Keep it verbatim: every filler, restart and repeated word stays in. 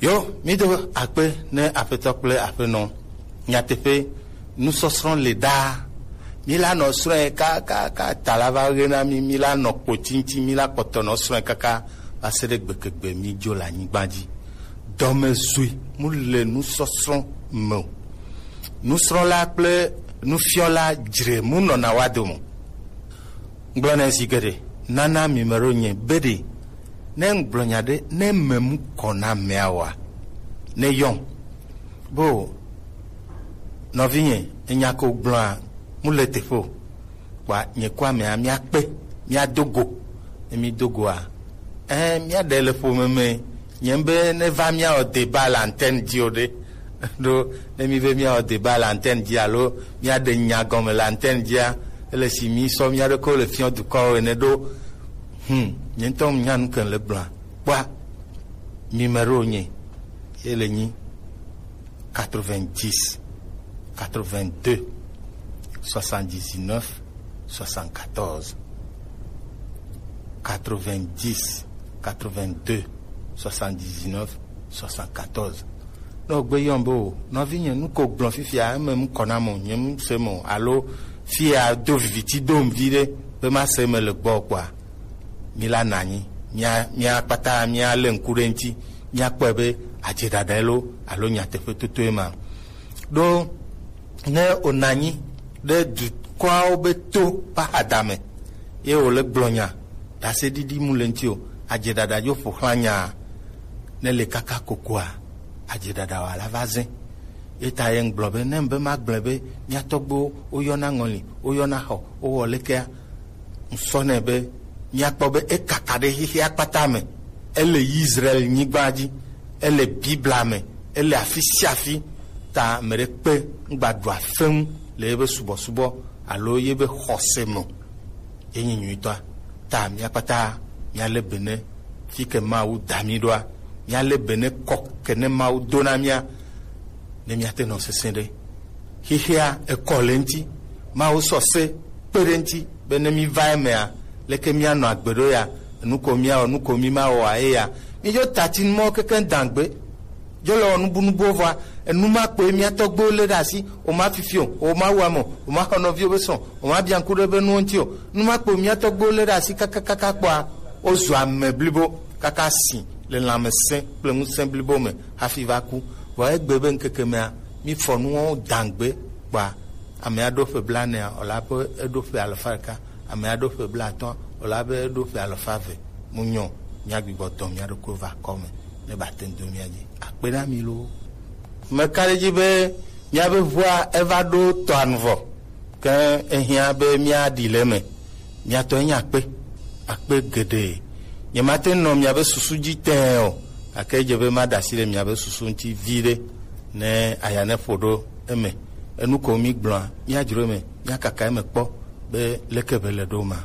Yo, mi do akpe ne Aƒetɔ kple Aƒenɔ. Nyateƒe, nusɔsrɔ̃ le ɖaa. Mi la nɔ srɔ̃e kakaka ta la va ɣe na mi, mi la nɔ kpoti ŋuti, mi la kpɔtɔ nɔ srɔ̃e kaka va se ɖe gbegegbe mi dzo le anyigba dzi. Dɔmezui mu le nusɔsrɔ̃ me o. Nusrɔ̃la kple nufiɔla dzre mu nɔna wa dome. Ŋgblɔ nɛ zi geɖe, nana mi me ɖo nye be ɖe, ne ŋgblɔ nya ɖe, ne me mu kɔ na amea oa, ne yɔn. Bo, nɔvinye, enya ko gblɔa, mu le teƒe o. Kpa nye ko amea, mia kpe, mia do go. Ne mi do goa, eh, mia ɖe le ƒome me, nye be ne va mia o débat le antenne dzi o ɖe. Ɖo, ne mi be mia o débat le antenne dzi alo mia ɖe nya gɔme le antenne dzia, ele si mi sɔ mia ɖe ko le fiɔ dukɔwo ene ɖo. Hmm, nye ŋutɔ nya nu ke le gblɔa. Kpɔa, numéro nye, ye le nyi quatre-vingt-dix, quatre-vingt-deux, soixante-dix-neuf, soixante-quatorze. Quatre-vingt-dix, quatre-vingt-deux, soixante-dix-neuf, soixante-quatorze. Ne wògbe yɔm be o, nɔvinye, nu ko gblɔ fifia, eme ŋkɔ nam o, nye ŋusem o, alo fia do viviti dom viɖe be mase eme le gbɔ kpɔa, mi la nɔ anyi, mia, mia kpata mia lé ŋku ɖe ŋuti, mia kpɔe be adze ɖaɖae lo alo nyateƒe totoe ma. Ɖo ne wònɔ anyi ɖe dukɔawo be to ƒe ahadame, ye wòle gblɔ nya, ɖaseɖiɖi mu le ŋuti o, adze ɖaɖa dzo ƒo xlã nyaa, ne le kaka kokoa, adze ɖaɖa wòala va zẽ. Ye ta ye ŋgblɔ be, ne ŋbe magblɔe be, mia tɔgbuiwo, woyɔna ŋɔli, woyɔna xɔ, wowɔ lekea, ŋsɔ nɛ be, miakpɔ be ekaka ɖe xexea kpata me. Ele Israel nyigba dzi, ele Biblia me, ele afi sia afi. Ta ame ɖe kpe ŋgba ɖua fe ŋu le yebe subɔsubɔ alo yebe xɔse me o. Ye nyi nyuitɔa. Ta mia kpata miale be ne fi ke Mawu da mi ɖoa, miale be ne kɔ ke ne Mawu do na mia, ne miate nɔ sesẽ ɖe. Xexea ekɔ le ŋuti. Mawu sɔ se kpe ɖe ŋuti be ne mi va emea, leke mianɔ agbe ɖo ya? Enu ko miawɔ, nu ko mi mawɔa eya. Mi dzo tati nu mɔ keke dangbe. Dzo le wɔ nubunubuwo vɔa, enu ma kpoe mia tɔgbuiwo lé ɖe asi. O ma fifi o, o ma wu ame o, o ma xɔ nɔviwo be srɔ̃, o ma bia ŋku ɖe be nuwo ŋuti o. Nu ma kpoe mia tɔgbuiwo lé ɖe asi kakakaka kpɔa, wozu ame blibo kaka si le lãmesẽ kple ŋusẽ blibo me hafi va ku. Vɔ egbe be ŋkeke mea, mi fɔ nuwo dangbe kpɔa, ame aɖo ƒe blaenea, wòla be eɖo ƒe alafa ɖeka. Ame aɖo ƒe blaatɔ̃, wòla be eɖo ƒe alafa eve. Mu nyɔ, mia gbigbɔ dɔ mia ɖokui va kɔ me ne ba te ŋu do mia dzi. Akpe na mi loo. Meka ɖe edzi be miabe ʋua eva ɖo tɔa nu vɔ, ke ehiã be miaɖi le eme. Mia tɔ enye akpe, akpe geɖe. Nyemate ŋu nɔ miabe susu dzi tẽe o, gake edze be maɖe asi le miabe susu ŋuti viɖe ne aya ne ƒo ɖo eme. Enu ko migblɔa, miadzro eme, miakaka eme kpɔ be leke be le ɖo ma.